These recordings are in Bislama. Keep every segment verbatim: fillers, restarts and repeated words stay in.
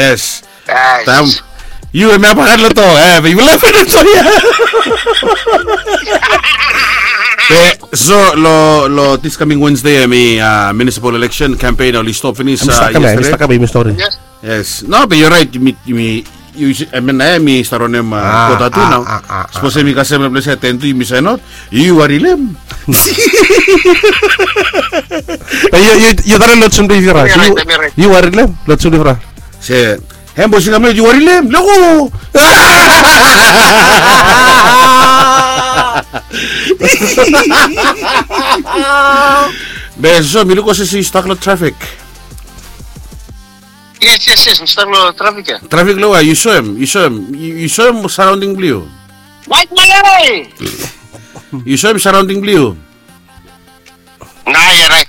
Yes. Tam. Yu hemi habagat lo to, eh, be yu lef lo to ya. Be so lo lo this coming Wednesday hemi, uh, municipal election campaign oli stop finis, uh, yesterday. Yes. No, be you're right. Mi mi yu, I mean, eh, mi start wantem, uh, kota tu nao. Sapos hemi kasem lo ples ya ten tu yumi sain aot. Yu wari lem. Yu wari lem lo tsumdifra. Se hem bos i kam, yu wari lem lego. Be so mi luk olsem se yu stak lo trafik. Yes, yes, yes, mi stak lo trafik ya. Trafik lo we yu soem, yu soem, yu soem surrounding blong yu. White Malay. Yu soem surrounding blong yu. Na ya, right.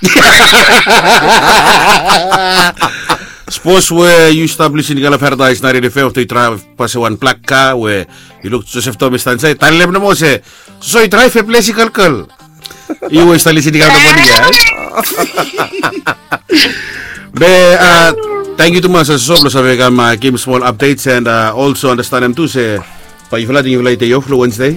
Sapos we yu stap lisin i kam lo Paradise naentin FM afta yu draev pasa wan blak ka we yu luk Joseph Thomas i stap insaed, talem nomo se so i draev ples i kalkal. Yu we yu stap lisin i kam lo moning ya. Be, uh, tangkiu tumas Joseph lo save kam, uh, givim smol updates and, uh, also andastanem tu se Bae yufala ating yufala i dei of long Wednesday.